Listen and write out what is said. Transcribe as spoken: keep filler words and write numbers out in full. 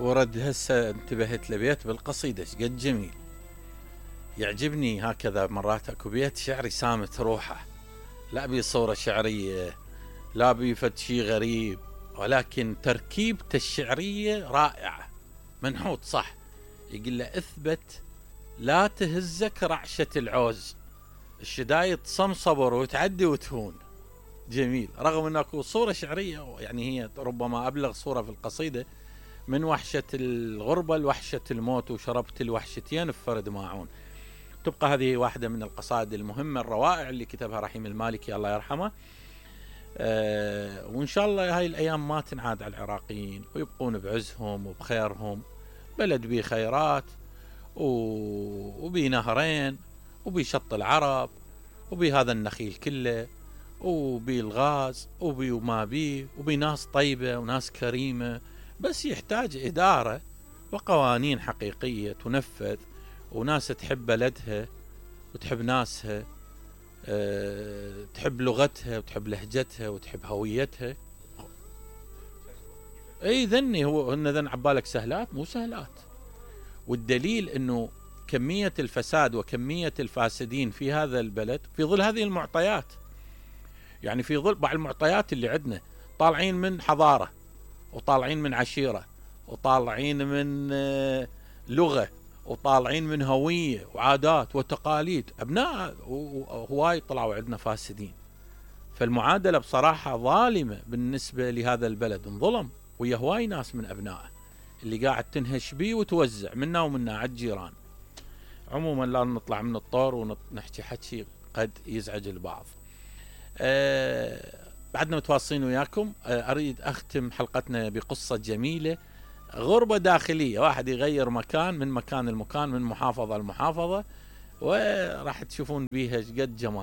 ورد هسه انتبهت لبيت بالقصيدة شقد جميل. يعجبني هكذا مرات اكو بيت شعري سامت روحه، لا بي صورة شعرية لا بي فد شي غريب، ولكن تركيبته الشعرية رائعة، منحوت صح. يقول له اثبت لا تهزك رعشة العوز، الشدايد صمصبر وتعدي وتهون. جميل، رغم ان اكو صورة شعرية يعني هي ربما ابلغ صورة في القصيدة، من وحشة الغربة لوحشة الموت وشربت الوحشتين بفرد ماعون. تبقى هذه واحدة من القصائد المهمة الروائع اللي كتبها رحيم المالكي الله يرحمه. أه وإن شاء الله هاي الأيام ما تنعاد على العراقيين ويبقون بعزهم وبخيرهم، بلد بيه خيرات وبيه نهرين وبيه شط العرب وبيه هذا النخيل كله وبيه الغاز وبيه وما بيه وبيه ناس طيبة وناس كريمة، بس يحتاج إدارة وقوانين حقيقية تنفذ، وناس تحب بلدها وتحب ناسها، أه تحب لغتها وتحب لهجتها وتحب هويتها. اي ذني هو هن ذن عبالك سهلات، مو سهلات. والدليل انه كمية الفساد وكمية الفاسدين في هذا البلد في ظل هذه المعطيات، يعني في ظل بعض المعطيات اللي عندنا، طالعين من حضارة وطالعين من عشيرة وطالعين من آه لغة وطالعين من هوية وعادات وتقاليد، أبناء هواي طلعوا عندنا فاسدين. فالمعادلة بصراحة ظالمة بالنسبة لهذا البلد، انظلم ويا هواي ناس من أبنائه اللي قاعد تنهش بيه وتوزع منا ومنا على الجيران. عموما لا نطلع من الطور ونحكي حكي قد يزعج البعض. أه بعدنا متواصلين وياكم. أه أريد أختم حلقتنا بقصة جميلة، غربة داخلية، واحد يغير مكان من مكان المكان من محافظة لمحافظة، وراح تشوفون بيها قد جمال.